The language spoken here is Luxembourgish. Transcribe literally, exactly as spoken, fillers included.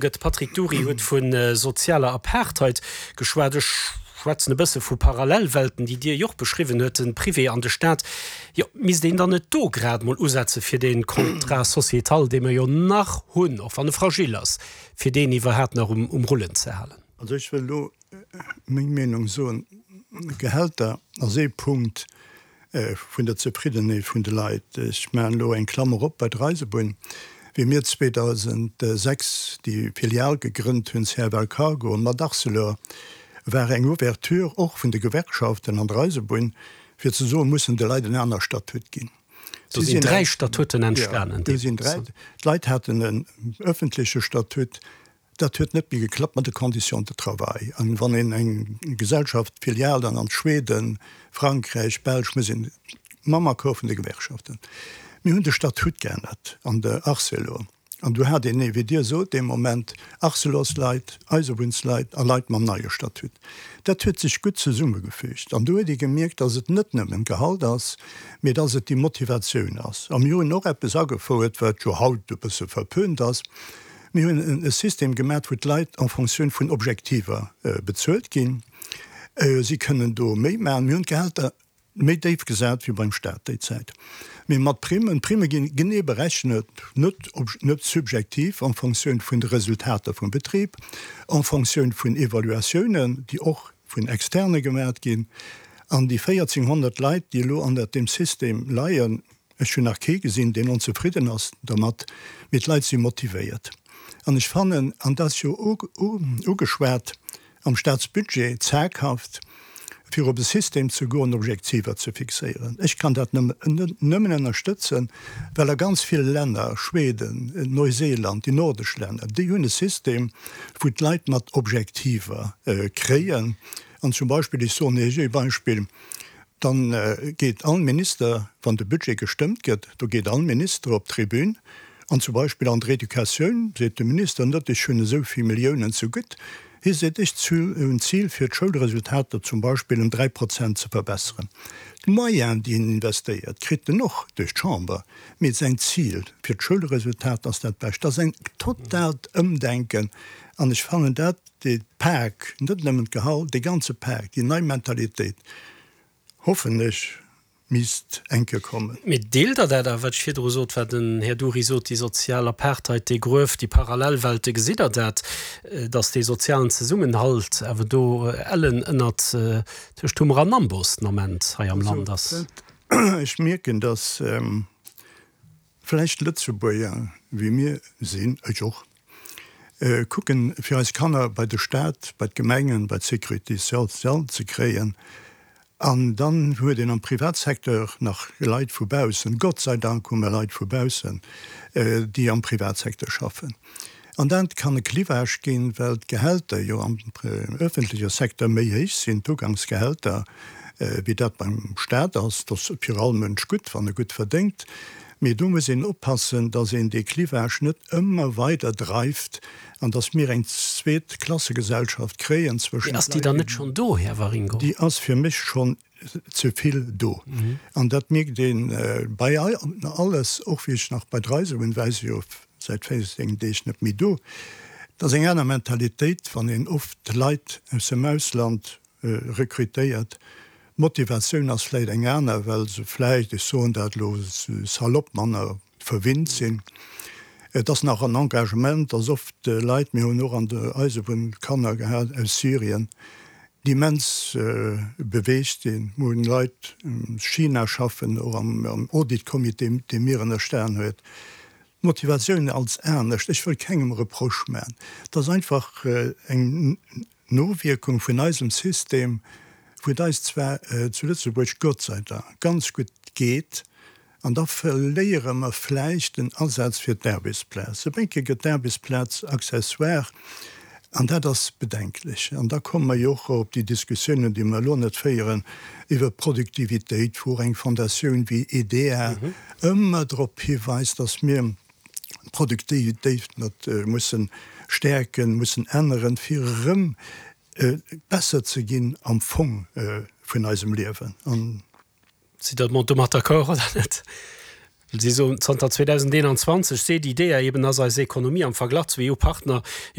Gëtt. Patrick Dury huet vu sozialer Apartheid geschwat. Ech schwätzen e bësse vu Parallelwelten, déi Dir jo och beschriwwen huet, de Privé an de Staat. Jo, misst een dann net do grad mol usetze fir dee Contrat sociétal, dee mer jo nach hunn, och wann e fragil ass, fir deen iwwerhaapt nach um Rullen ze halen? Also ech wëll elo meng Meenung soen. Gehälter ass ee Punkt vun der Zefriddenheet vun de Leit. Ech maachen elo eng Klammer op bei der Eisebunn. Wéi mir zweedausendsechs déi Filial gegrënnt hunn, C F L Cargo mat Arcelor, war eng Ouverture och vun de Gewerkschaften an der Eisebunn, fir ze soen, mussen de Leit en aner Statut ginn. Do sinn dräi Statuten entstanen. Do sinn dräi. D'Leit haten en öffentleche Statut. Dat huet net méi geklappt mat de Conditions de travail. An wann een eng Gesellschaft, Filial dann an Schweden, Frankräich, Belsch, muss een mam Accord vun de Gewerkschaften. Mir hunn de Statut geännert an der Arcelor. An do hat een, wéi Dir sot, dee Moment Arcelorsleit, Eisebunnsleit a Leit mam neie Statut. Dat huet sech gutt zesummegefügt. An do huet ee gemierkt, datt et net nëmmen d'Gehalt ass, mee datt et déi Motivatioun ass. A mir hunn och eppes agefouert, wat jo haut e bësse verpönt ass. Mir hunn e System gemaat, wou d'Leit en Fonctioun vun Objektiver bezuelt ginn. Si kënnen do méi maachen. Mir hunn d'Gehälter méi déif gesat wéi beim Staat déi Zäit, mee mat Primmen. D'Primme ginn genee berechnet, net net subjektiv, en Fonctioun vun de Resultater vum Betrib, en Fonctioun vun Evaluatiounen, déi och vun Externe gemaat ginn. An déi véierzehnhonnert Leit, déi elo an deem System leien, ech hunn nach kee gesinn, deen onzefridden ass dermat, mee d'Leit si motivéiert. An ech fannen, an dat ass jo ugeschwat am Staatsbudget, zaghaft, fir op e System ze goen, Objektiver ze fixéieren. Ech kann dat nëmmen ënnerstëtzen, well a ganz ville Länner, Schweden, Neuseeland, déi nordesch Länner, déi hunn e System, wou d'Leit mat Objektiver kréien. An zum Beispill, ech soen Iech ee Beispill, dann geet all Minister, wann de Budget gestëmmt gëtt, do geet all Minister op d'Tribün an zum Beispill an der Educatioun seet de Minister net, ech hunn esou vill Milliounen zegutt, hie seet, ech hunn d'Zil fir d'Schoulresultater zum Beispill ëm dräi Prozent ze verbesseren. D'Moyenen, déi en investéiert, kritt en och duerch d'Chamber, mee säin Zil fir d'Schoulresultat ass dat Bescht. Dat ass en totaalt Ëmdenken an ech fannen dat, dee Pak, net nëmmen d'Gehalt, dee ganze Pak, déi nei Mentalitéit, hoffen ech, misst eng Kéier kommen. Mee deelt Der dat awer, wat ech virdru sot, wat den Här Dury sot, déi sozial Apartheid, dee Gruef, déi Parallelwelte, gesitt Der dat, datt dee sozialen Zesummenhalt awer do ellen ënnert tëscht Hummer an Amboss den Ament hei am Land ass? Ech mierken, datt vläicht Lëtzebuerger, wéi mir sinn, ech och, kucken, fir eis Kanner bei de Staat, bei d'Gemengen, bei d'Sécurité sociale ze kréien. An dann huet een am Privatsecteur nach Leit vu baussen, Gott sei Dank hu mer Leit vu baussen, déi am Privatsecteur schaffen. An dat kann e Clivage ginn, well d'Gehälter jo am öffentleche Secteur méi héich sinn, d'Ugangsgehälter, wéi dat beim Staat ass. Dat ass fir all Mënsch gutt, wann e gutt verdéngt. Mee do muss een oppassen, dass een dee Clivage net ëmmer weider dreift an dass mir eng zweet Klassegesellschaft kréien zwëschent Leit. Ass déi dann net schonn do, Här Waringo? Déi ass fir mech schonn ze vill do. An dat mierkt ee bei alles, och wéi ech nach bei der Eisebunn war, si jo säit véierzéng Deeg net méi do. Et ass eng aner Mentalitéit, wann een oft Leit aus dem Ausland rekrutéiert. D'Motivatioun ass vläicht eng aner, well se vläicht, ech soen dat elo salopp, manner verwinnt sinn. Et ass nach en Engagement, dass oft Leit, mir hunn och an der Eisebunn Kanner gehat aus Syrien, déi immens beweegt sinn. Mir hunn Leit aus China schaffen, och am Auditcomité, dee mir ënnerstan huet. D'Motivatioun als anescht, ech wëll kengem Reproche maachen, et ass einfach eng Nowierkung vun eisem System, wou et eis zwar zu Lëtzebuerg Gott sei Dank ganz gutt geet, an da verléiere mer vläicht den Asaz fir d'Aarbechtsplaz. E bénke gëtt d'Aarbechtsplaz accessoire, an dat ass bedenklech. An da komme mer jo och op déi Diskussiounen, déi mer elo net féieren, iwwert d'Produktivitéit, wou och eng Fondatioun wéi E D A ëmmer drop hiweist, dass mir d'Produktivitéit mat mussen stäerken, mussen änneren, fir erëm besser ze ginn am Fong vun eisem Liewen. An Sidd Der domat d'accord oder net? Si soen, zanter zweedausendeenanzwanzeg seet d'IDEA eben, ass eis Ekonomie am Verglach zu E U-Partner